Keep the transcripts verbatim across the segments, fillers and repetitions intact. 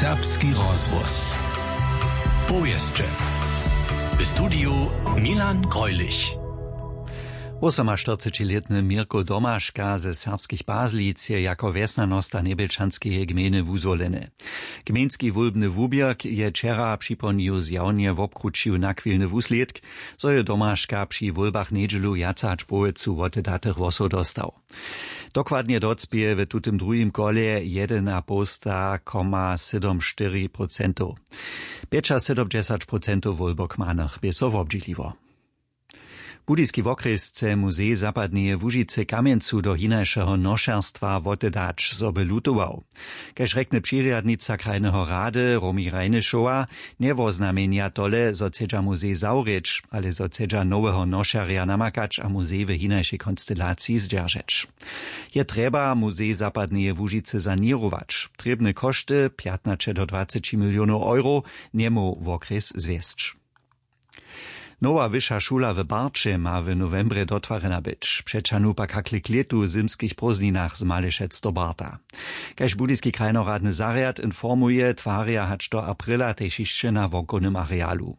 Serbski rozhłos. Powěsće. W studiju Milan Greulich. Wosomaštyrcećilětny Měrko Domaška ze Serbskich Pazlic je jako wjesnjanosta Njebjelčanskeje gmejny wuzwoleny. Gmejnski wólbny wuběrk je wčera připomnił zjawnje wobkrućił nachwilny wuslědk, zo je Domaška při wólbach njedźelu wjace hač połojcu wotedatych hłosow dostał. Dokładnje docpěje w tutym druhim kolje jedynapołsta koma sydom štyri procentow. Pjećasydomdźesać procentow wólbokmanych bě so wobdźěliło. Budyski wokrjes chce muzej zapadneje łužicy kamjencu do hinašeho nošerstwa wotedać, zo by lutował. Kaž rjekny přirjadnica krajneho rady Romi Rajnyšowa, njewoznamjenja tole, zo chcedźa muzej zawrěć, ale zo chcedźa noweho nošerja namakać a muzej w hinašej konstelaciji zdźeržeć. Je trjeba muzej zapadneje łužicy saněrować. Trěbne košty pjatnaće do dwaceći milionow euro njemóhł wokrjes zwjesć. Nowa wyša šula w Barće ma w nowembrje dotwarjena być. Přećahnu pak hakle k lětu w zymskich prózdninach z Malešec do Barta. Kaž budyski krajnoradny zarjad informuje, twarja hač do aprila tež hišće na wonkownym arealu.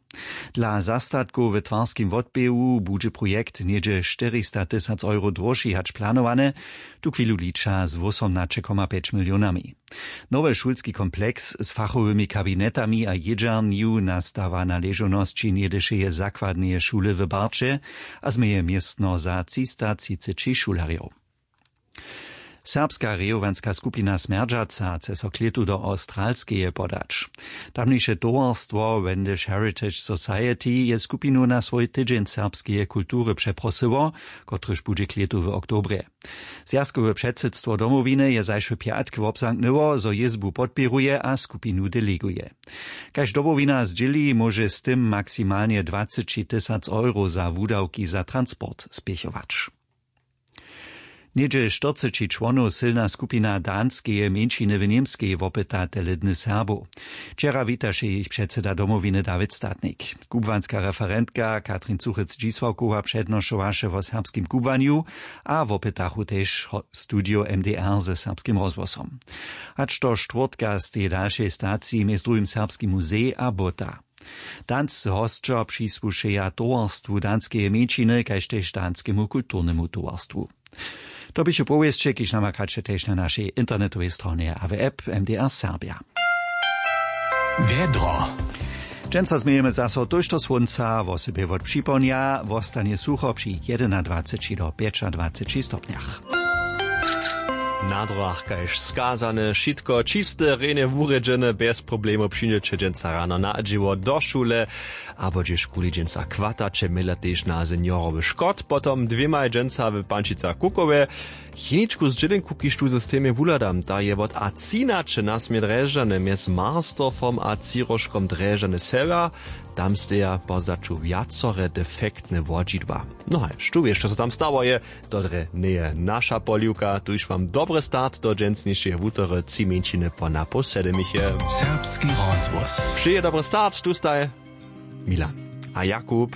Dla zastatkow w twarskim wotběhu budźe projekt něhdźe štyristatysac euro dróžši hač planowany, tuchwilu liča z wósomnaće koma pjeć milionami. Nowy šulski kompleks z fachowymi kabinetami a jědźernju nastawa na ležownosći něhdyšeje zakładneje šule w Barće a změje městno za třista třiceći šulerjow. Serbska rejowanska skupina Smjerdźaca chce so k lětu do Awstralskeje podać. Tamniše towarstwo Wendish Heritage Society je skupinu na swój tydźeń serbskeje kultury přeprosyło, kotryž budźe k lětu w oktobrje. Zwjazkowe předsydstwo Domowiny je zašły pjatk wobzamknyło, zo jězbu podpěruje a skupinu deleguje. Kaž Domowina zdźěli, móže z tym maksimalnje dwaceći tysac euro za wudawki za transport spěchować. Něhdźe štyrceći čłonow sylna skupina danskeje mjeńšiny w Němskej wopyta tele dny Serbow. Wčera witaše jich předsyda Domowiny Dawid Statnik. Kubłanska referentka Katrin Cuchec-Dźisławkowa přednošowaše wo serbskim kubłanju a wopytachu tež ho-, studio M D R ze Serbskim rozhłosom. Hač do štwórtka steji dalšej staciji mjez druhim Serbski muzej a Bóta. Danscy hosćo přisłušeja towarstwu danskeje mjeńšiny kaž tež danskemu kulturnemu towarstwu. To běchu powěsće, kiž namakaće tež na našej internetowej stronje a w app M D R Serbja. Wjedro. Dźensa změjemy zaso tójšto słónca, wosebje wot připołdnja wostanje sucho při jedynadwaceći do pjećadwaceći stopnjach. Na drogach kaž skazane, wšitko čiste, rjenje wurjedźene, bjez problemow přińdźeće dźensa rano na dźěło do šule, abo hdźežkuli dźensa chwataće, měla tež na seniorowy škot, potom dwěmaj dźensa w Pančicach Kukowje. Jeničku zdźělenku, kiž tu w systemje wuhladam, ta je wot a třinaće na směr Drježdźany mjez Marsdorfom a Třiróžkom Drježdźany sewjer. Tam steja po zdaću wjacore defektne wodźidła. No haj, štó wě, što so tam stało je, to drje njeje naša poliwka. Tuž wam dobry start do dźensnišeje wutory, tři mjeńšiny po napoł sedemiche. Serbski rozhłos. Přeje dobry start, tu staj Milan a Jakub.